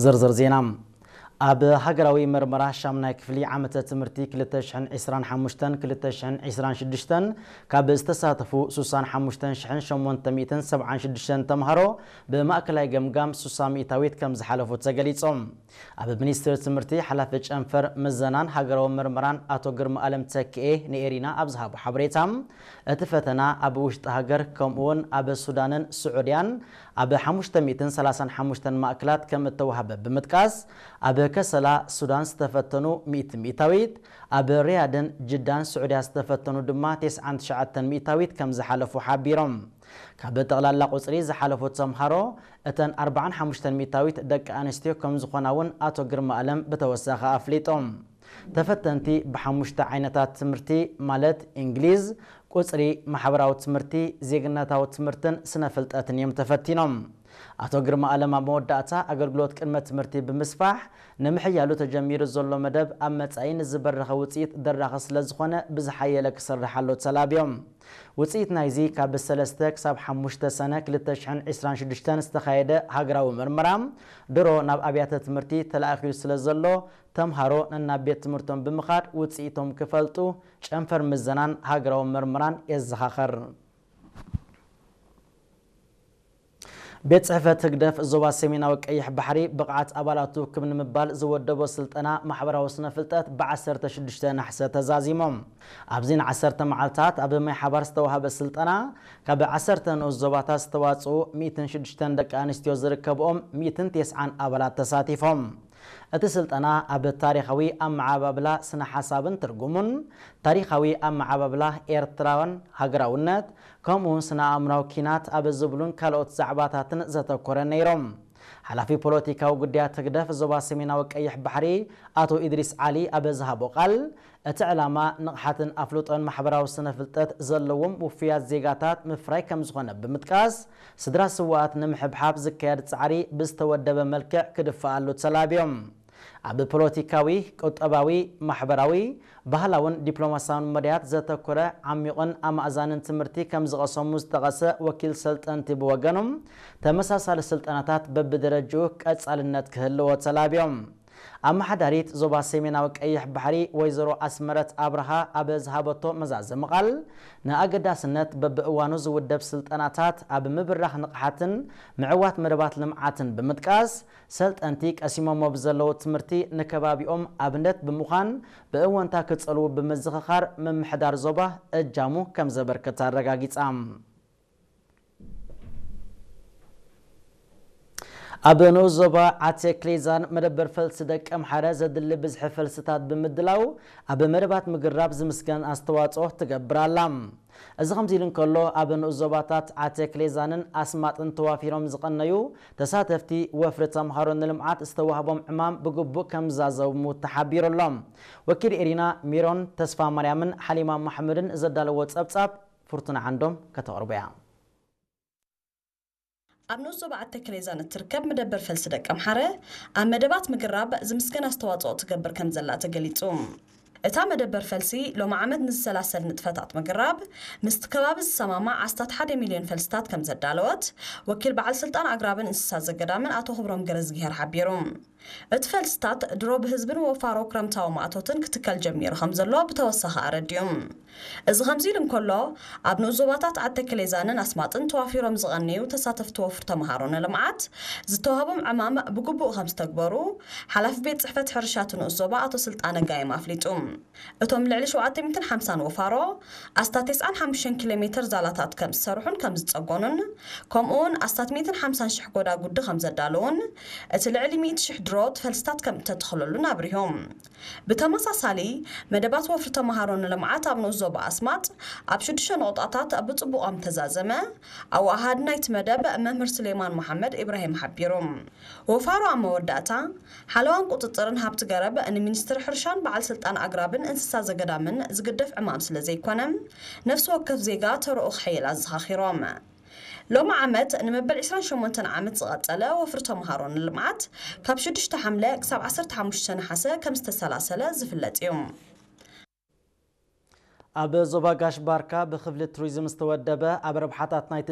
ዝርዝር ዜና። ኣብ ሃገራዊ መርመራ ሻምናይ ክፍሊ ዓመተ ትምህርቲ ክልተ ሽሕን ዕስራን ሓሙሽተን ክልተ ሽሕን ዕስራን ሽዱሽተን ካብ ዝተሳተፉ ሱሳን ሓሙሽተን ሽሕን ሸሞንተ ሚእትን ሰብዓን ሽዱሽተን ተምሃሮ ብማእከላይ ገምጋም ሱሳ ሚእታዊት ከም ዝሓለፉ ተገሊጾም። ኣብ ሚኒስቴር ትምህርቲ ሓላፊ ጨንፈር ምዘናን ሃገራዊ መርመራን ኣቶ ግርማ ኣለም ተክኤ ንኤሪና ኣብ ዝሃቦ ሓበሬታ፣ እቲ ፈተና ኣብ ውሽጢ ሃገር ከምኡውን ኣብ ሱዳንን ስዑድያን ኣብ ሓሙሽተ ሚእትን ሰላሳን ሓሙሽተን ማእከላት ከም እተዋህበ ብምጥቃስ፣ ኣብ ከሰላ ሱዳን ዝተፈተኑ ሚእቲ ሚእታዊት፣ ኣብ ሪያድን ጅዳን ስዑድያ ዝተፈተኑ ድማ ተስዓን ትሽዓተን ሚእታዊት ከም ዝሓለፉ ሓቢሮም። ካብ ጠቕላላ ቁጽሪ ዝሓለፉ ተምሃሮ እተን ኣርባዓን ሓሙሽተን ሚእታዊት ደቂ ኣንስትዮ ከም ዝኾና እውን ኣቶ ግርማ ኣለም ብተወሳኺ ኣፍሊጦም። ተፈተንቲ ብሓሙሽተ ዓይነታት ትምህርቲ ማለት እንግሊዝ፣ ቁጽሪ፣ ማሕበራዊ ትምህርቲ፣ ዜግነታዊ ትምህርትን ስነ ፍልጠትን እዮም ተፈቲኖም። ኣቶ ግርማ ኣለም ኣብ መወዳእታ ኣገልግሎት ቅድመ ትምህርቲ ብምስፋሕ ንምሕያሉ ተጀሚሩ ዘሎ መደብ ኣብ መጻኢ ንዝበረኸ ውጽኢት ደራኺ ስለ ዝኾነ ብዝሓየለ ክስርሓሉ ተላብዮም። ውጽኢት ናይዚ ካብ ሰለስተ ክሳብ ሓሙሽተ ሰነ ክልተ ሽሕን ዕስራን ሽዱሽተን ዝተኻየደ ሃገራዊ መርመራ ድሮ ናብ ኣብያተ ትምህርቲ ተላኣኺሉ ስለ ዘሎ ተምሃሮ ነናብ ቤት ትምህርቶም ብምኻድ ውጽኢቶም ክፈልጡ ጨንፈር ምዘናን ሃገራዊ መርመራን የዘኻኸር። ቤት ጽሕፈት ህግደፍ ዞባ ሰሜናዊ ቀይሕ ባሕሪ ብቕዓት ኣባላቱ ክብ ንምባል ዝወደቦ ስልጠና ማሕበራዊ ስነ ፍልጠት ብዓሰርተ ሽዱሽተ ናሕሰ ተዛዚሞም። ኣብዚ ንዓሰርተ መዓልታት ኣብ ማይ ሓባር ዝተዋህበ ስልጠና ካብ ዓሰርተ ንኡስ ዞባታት ዝተዋጽኡ ሚእትን ሽዱሽተን ደቂ ኣንስትዮ ዝርከብኦም ሚእትን ተስዓን ኣባላት ተሳቲፎም። እቲ ስልጠና ኣብ ታሪኻዊ ኣመዓባብላ ስነ ሓሳብን ትርጉሙን፣ ታሪኻዊ ኣመዓባብላ ኤርትራን ሃገራውነት፣ ከምኡውን ስነ ኣእምራዊ ኪናት ኣብ ዝብሉን ካልኦት ዛዕባታትን ዘተኮረ ነይሮም። ሓላፊ ፖለቲካዊ ጉዳያት ህግደፍ ዞባ ሰሜናዊ ቀይሕ ባሕሪ ኣቶ ኢድሪስ ዓሊ ኣብ ዝሃቦ ቃል፣ እቲ ዕላማ ንቕሓትን ኣፍልጦን ማሕበራዊ ስነ ፍልጠት ዘለዎም ውፉያት ዜጋታት ምፍራይ ከም ዝኾነ ብምጥቃስ፣ ስድራ ስውኣት ንምሕብሓብ ዝካየድ ጻዕሪ ብዝተወደበ መልክዕ ክድፈኣሉ ተላብዮም። ኣብ ፖለቲካዊ፣ ቁጠባዊ፣ ማሕበራዊ፣ ባህላውን ዲፕሎማሲያውን መዳያት ዘተኮረ ዓሚቑን ኣማእዛንን ትምህርቲ ከም ዝቐሰሙ ዝጠቐሰ ወኪል ሰልጠንቲ ብወገኑ፣ ተመሳሳሊ ስልጠናታት በብደረጅኡ ቀጻልነት ክህልዎ ተላብዮም። ኣመሓዳሪት ዞባ ሰሜናዊ ቀይሕ ባሕሪ ወይዘሮ ኣስመረት ኣብርሃ ኣብ ዝሃበቶ መዛዘሚ ቃል፣ ንኣገዳስነት በብእዋኑ ዝውደብ ስልጠናታት ኣብ ምብራኽ ንቕሓትን ምዕዋት መደባት ልምዓትን ብምጥቃስ፣ ሰልጠንቲ ቀሲሞሞ ብዘለዉ ትምህርቲ ንከባቢኦም ኣብነት ብምዃን ብእወንታ ክጸልዉ ብምዝኽኻር ምምሕዳር ዞባ እጃሙ ከም ዘበርክት ኣረጋጊጻ። ኣብ ንኡስ ዞባ ዓቴ ክሌዛን መደበር ፈልሲ ደቀምሓረ ዘድሊ ብዝሒ ፈልስታት ብምድላው ኣብ መደባት ምግራብ ዝምስገን ኣስተዋጽኦ ትገብር ኣላ። እዚ ከምዚ ኢሉ እንከሎ፣ ኣብ ንኡስ ዞባታት ዓቴ ክሌዛንን ኣስማጥን ተዋፊሮም ዝቐነዩ ተሳተፍቲ ወፍሪ ተምሃሮ ንልምዓት ዝተዋህቦም ዕማም ብግቡእ ከም ዝዛዘሙ ተሓቢሩ ኣሎ። ወኪል ኤሪና ሚሮን ተስፋ ማርያምን ሓሊማ መሓመድን ዘዳለዎ ጸብጻብ ፍርቱና ዓንዶም ከተቕርቦ እያ። ኣብ ንኡስ ዞባ ዓቴ ክሌዛን እትርከብ መደበር ፈልሲ ደቀምሓረ ኣብ መደባት ምግራብ ዝምስገን ኣስተዋጽኦ ትገብር ከም ዘላ ተገሊጹ። እታ መደበር ፈልሲ ሎሚ ዓመት ንዝሰላሰል ንጥፈታት ምግራብ ምስቲ ከባቢ ዝሰማማዕ ኣስታት ሓደ ሚልዮን ፈልስታት ከም ዘዳለወት ወኪል በዓል ስልጣን ኣግራብን እንስሳ ዘገዳምን ኣቶ ክብሮም ገረዝግሄር ሓቢሩ። እቲ ፈልስታት ድሮ ብህዝብን ወፋሮ ክረምታዊ ማእቶትን ክትከል ጀሚሩ ከም ዘሎ ብተወሳኺ ኣረዲኡ። እዚ ከምዚ ኢሉ እንከሎ፣ ኣብ ንኡስ ዞባታት ዓዲ ክሌዛንን ኣስማጥን ተዋፊሮም ዝቐነዩ ተሳተፍቲ ወፍሪ ተምሃሮ ንልምዓት ዝተዋህቦም ዕማም ብግቡእ ከም ዝተግበሩ ሓላፊ ቤት ጽሕፈት ሕርሻ እቲ ንኡስ ዞባ ኣቶ ስልጣነ ጋይም ኣፍሊጡ። እቶም ልዕሊ ሸውዓተ ሚእትን ሓምሳን ወፋሮ ኣስታት ተስዓን ሓሙሽተን ኪሎ ሜትር ዛላታት ከም ዝሰርሑን ከም ዝጸገኑን፣ ከምኡውን ኣስታት ሚእትን ሓምሳን ሽሕ ጎዳጉዲ ከም ዘዳለዉን፣ እቲ ልዕሊ ሚእቲ ሽሕ ድሮ ፈልስታት ከም እተተኽለሉን ኣብሪሆም። ብተመሳሳሊ፣ መደባት ወፍሪ ተምሃሮ ንልምዓት ኣብ ንኡስ ዞባ ኣስማጥ ኣብ ሽዱሽተ ነቑጣታት ብጽቡቕ ከም ተዛዘመ፣ ኣወሃሃዲ ናይቲ መደብ መምህር ሱሌማን መሓመድ ኢብራሂም ሓቢሩ። ወፋሮ ኣብ መወዳእታ፣ ሓለዋን ቁጽጽርን ሃብቲ ገረብ ንሚኒስትሪ ሕርሻን በዓል ስልጣን ኣግራብን እንስሳ ዘገዳምን ዝግደፍ ዕማም ስለ ዘይኮነ፣ ነፍሲ ወከፍ ዜጋ ተረኡ ክሕይል ኣዘኻኺሮም። ሎሚ ዓመት ንመበል ዕስራን ሸሞንተን ዓመት ዝቐጸለ ወፍሪ ተምሃሮ ንልምዓት ካብ ሽዱሽተ ሓምለ ክሳብ ዓሰርተ ሓሙሽተ ነሓሰ ከም ዝተሰላሰለ ዝፍለጥ እዩ። ኣብ ዞባ ጋሽ ባርካ ብክፍሊ ቱሪዝም ዝተወደበ ኣብ ረብሓታት ናይቲ